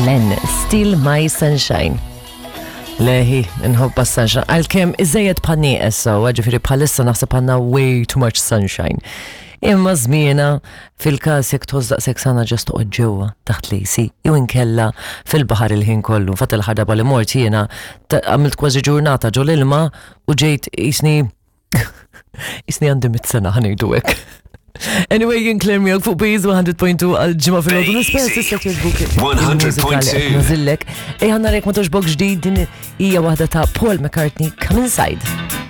Glenn, Still My Sunshine. Leħi, nħobba sunshine. Għalkemm iżejjed bħal nieqes so, ġifieri bħalissa naħseb għandna way too much sunshine. Imma żmiena fil-każ jekk tħoss daqshekk sana ġast toqgħod ġewwa taħt l-AC jew inkella fil-baħar il-ħin kollu. Fatt il-ħadaba li mort jiena għamilt kważi ġurnata ġol ilma u ġejt jisni jisni għandi mit-sena ħanejdu hekk. Anyway, jien Claire miegħek fuq Biz 100.2 għal ġimgħa fil-għodu nispera tista' jogħġbuk. 100.2. Nażillek. Ejja narek ma toġbok ġdid din hija waħda ta' Paul McCartney Come Inside.